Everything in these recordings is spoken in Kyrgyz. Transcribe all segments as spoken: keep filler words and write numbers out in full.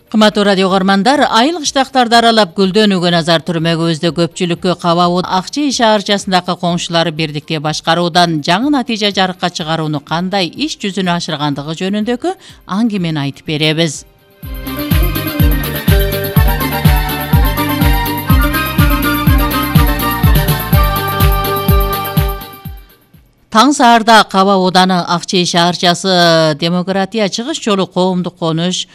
Кымбаттуу радио көрөрмандар, айыл кыштактарды аралап гүлдөнүүгө назар түрмөгүбүздө көпчүлүккө Кабаа Акчей шаарчасындагы коңшулары бирдикте башкаруудан жаңы натыйжа жарыкка чыгарууну кандай иш жүзүнө ашыргандыгы жөнүндөгү аңгемени айтып беребиз. Таң саарда Кабаа Ооданы Акчей шаарчасы Демократия чыгыш жолу коомдук конуш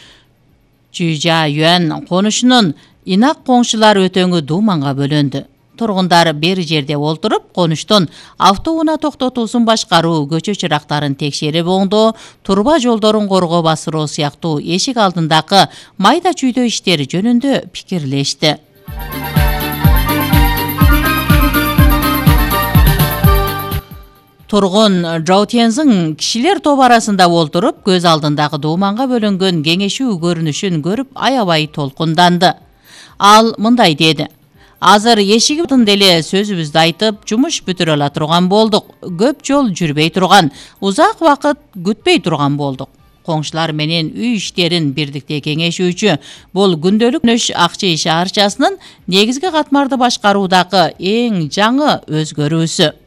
Чүйжа Юан конушунун инак коңшулар өтөңү дууманга бөлөндү. Тургундар бир жерде олтуруп, конуштун автоунаа токтотуусун башкаруу, көчө чырактарын текшерип оңдоо, турба жолдорун коргоо басыруу сыяктуу эшик алдындагы майда чүйдө иштери жөнүндө пикирлешти. Тургун Жао Тянзың кишилер топ арасында олтуруп, көз алдындагы дууманга бөлөнгөн кеңешүү көрүнүшүн көрүп аябай толкунданды. Ал мындай деди: "Азыр эшигибиздин деле сөзүбүздү айтып, жумуш бүтүрө ала турган болдук. Көп жол жүрбөй турган, узак убакыт күтпөй турган болдук. Коңшулар менен үй иштерин бирдикте кеңешүүчү бул күндөлүк Нөш Акчей шаарчасынын негизги катмарды башкаруудагы эң жаңы өзгөрүүсү.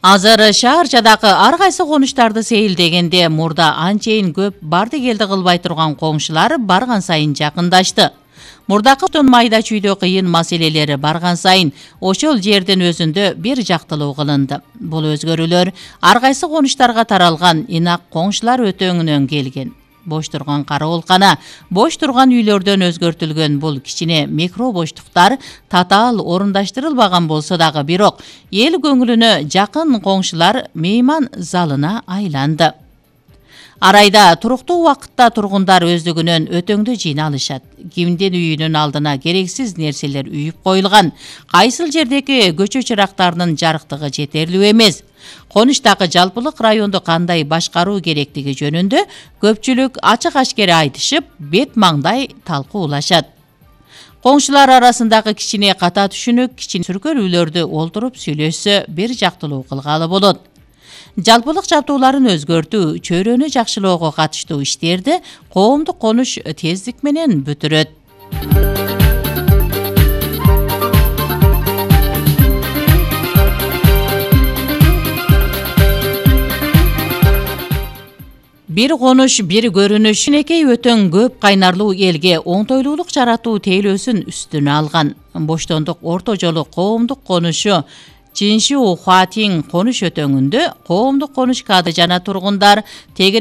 Азыр шаарчадагы ар кайсы конуштарды сейилдегенде мурда анчейин көп барды келди кылбай турган коңшулар барган сайын жакындашты. Мурдакы майда чүйдө кыйын маселелери барган сайын ошол жердин өзүндө бир жактылуу кылынды. Бул өзгөрүүлөр ар кайсы конуштарга таралган инак коңшулар өтөңүнөн келген. Бош турган кароолкана, бош турган үйлөрдөн өзгөртүлгөн бул кичине микро боштуктар татаал орундаштырылбаган болсо дагы бирок эл көңүлүнө жакын коңшулар мейман залына айланды. Арайда туруктуу убакытта тургундар өздүгүнөн өтөңдө жыйналышат. Кимдин үйүнүн алдына керексиз нерселер үйүп коюлган, кайсыл жердеги көчө чырактарынын жарыктыгы жетерлүү эмес. Конуштагы жалпылык районду кандай башкаруу керектиги жөнүндө көпчүлүк ачык ашкере айтышып, бет маңдай талкуулашат. Коңшулар арасындагы кичине ката түшүнүк, кичине сүркөлүүлөрдү олтуруп сүйлөшсө бир жактылуу кылгалы болот. Жалпылык жабдууларын өзгөртүү, чөйрөнү жакшылоого катыштуу иштерди коомдук конуш тездик менен бүтүрөт. Бир конуш, бир көрүнүш, энекей өтөң көп кайнарлуу элге оңтойлуулук жаратуу тейлөөсүн үстүнө алган. Боштондук орто жолу коомдук конушу Чинши Хуатин конуш өтөңүндө коомдук конуш каады жана тургундар тегерек